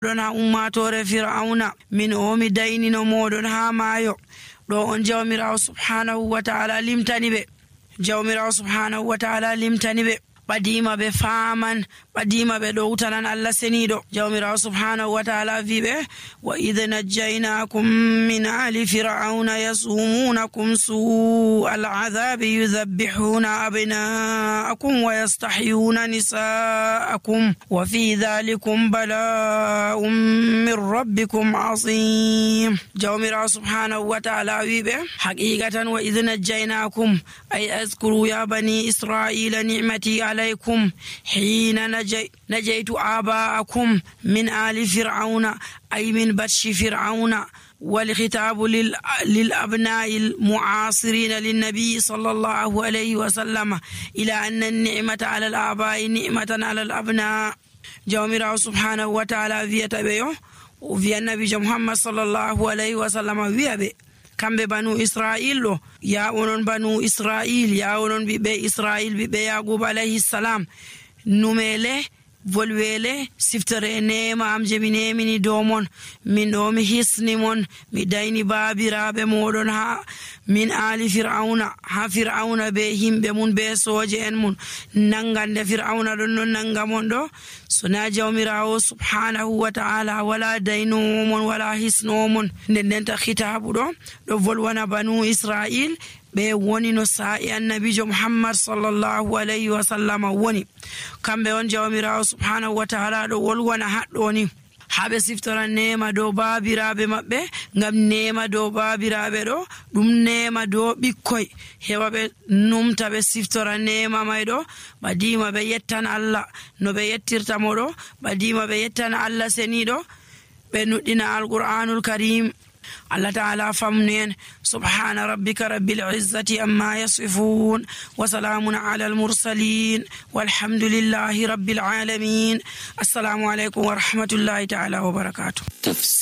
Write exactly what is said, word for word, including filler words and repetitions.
ɗon ha ummatore fir'auna min o mi daynino moɗon ha maayo. ɗo on jawmirawo subhanahu wa ta'ala limtani ɓe jawmirawo subhanahu wa ta'ala limtani ɓe ɓadima ɓe faman ɓadima ɓe ɗo utanan Allah seniɗo. jawmirawo subhanahu wa ta'ala wi ɓe wa idh najjaynakum min ali fir'auna yasumunakum su'al adhabi yudhabbihuna abna'akum wa yastahyuna nisa'akum wa fi dhalikum bala'un min rabbikum azim. jawmirawo subhanahu wa ta'ala wi ɓe haqiqatan wa idh najjaynakum ay azkuru ya bani isra'ila ni'mati عليكم حين نجي نجيت آباءكم من آل فرعون أي من بطش فرعون. والخطاب لل... للأبناء المعاصرين للنبي صلى الله عليه وسلم إلى أن النعمة على الآباء نعمة على الأبناء. جوامر سبحانه وتعالى في تبيه وفي النبي محمد صلى الله عليه وسلم في kamɓe banu israil ɗo ya onon banu israil ya onon ɓiɓɓe israil ɓiɓɓe yaqub alayhi salam numele volwele siftere nema am je mi nemini dow mon min ɗo mi hisni mon mi dayni baabiraɓe moɗon ha min ali fir'auna ha fir'auna be himɓe mun be soje en mun nangande fir'auna ɗon non nanga mon ɗo sona jawmirawo subhanahu wa ta'ala wala daynowo mon wala hisnowo mon. nden ndenta khitabu ɗo ɗo volwana banu israil ɓe woni no sa'i annabijo muhammad sallallahu alayhi wa sallam woni kamɓe on jawmirawo subhanahu wa ta'ala ɗo wolwana haɗɗo ni haɓe siftora nema dow baabiraɓe maɓɓe ngam nema dow baabiraɓe ɗo ɗum nema dow ɓikkoy heɓa ɓe numta ɓe siftora nema may ɗo ɓadima ɓe yettan Allah no ɓe yettirta mo ɗo ɓadima ɓe yettan Allah seniɗo ɓe nuɗɗina alqur'anul karim. Allah ta'ala famnen subhana rabbika rabbil izzati amma yasifun wa salamun ala al mursalin walhamdulillahi rabbil alamin. Assalamu alaikum wa rahmatullahi ta'ala wa barakatuh.